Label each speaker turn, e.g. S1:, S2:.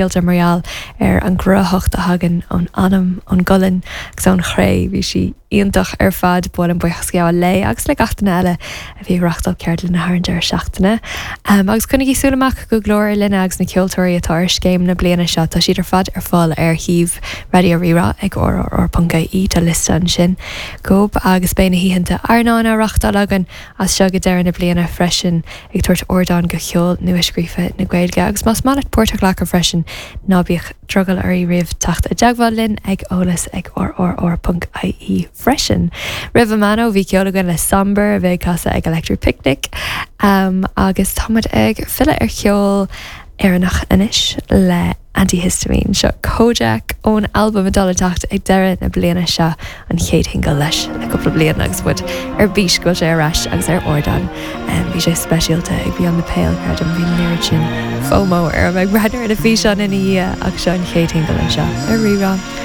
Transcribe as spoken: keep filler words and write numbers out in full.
S1: Mar gheall ar an gcruthaitheacht a thagann ón anam ón gcolainn agus ón chré bhí sí iontach ar fad buailim buíochas gabháil léi agus le gach duine eile a bhí ag reáchtáil ceardlanna thar an deireadh seachtaine. Um, agus coinnigí súil amach go Glór Linne agus na ceoltóirí atá ar scéim na bliana seo tá siad ar fad ar fáil ar shuíomh Raidió Rí-Rá ag rrr.ie tá liosta ansin gob agus beidh na hoícheanta airneáin á reáchtáil againn as seo go deireadh na bliana freisin ag tabhairt ardán go cheol nua-scríofa na Gaeilge agus más maith leat páirt a ghlacadh freisin ná bíodh drogall oraibh riamh teacht i dteagmháil linn ag eolas ag rrr.ie freisin. Roimh Amano bhí ceol againn le Somber a bheith ag casadh ag Electric Picnic um, agus táimid ag filleadh ar cheol Éireannach anois le antihistamine seo Kojak ón albam atá le teacht ag deireadh na bliana seo an chéad shingil leis le cúpla bliain agus muid ar bís go sé ar ais agus ar ardán. Um, bhí sé speisialta ag Beyond the Pale creidim bhí an oiread sin FOMO ar ag breathnú ar na físeáin ina dhiaidh ach seo an chéad shingil anseo ar Rí-Rá.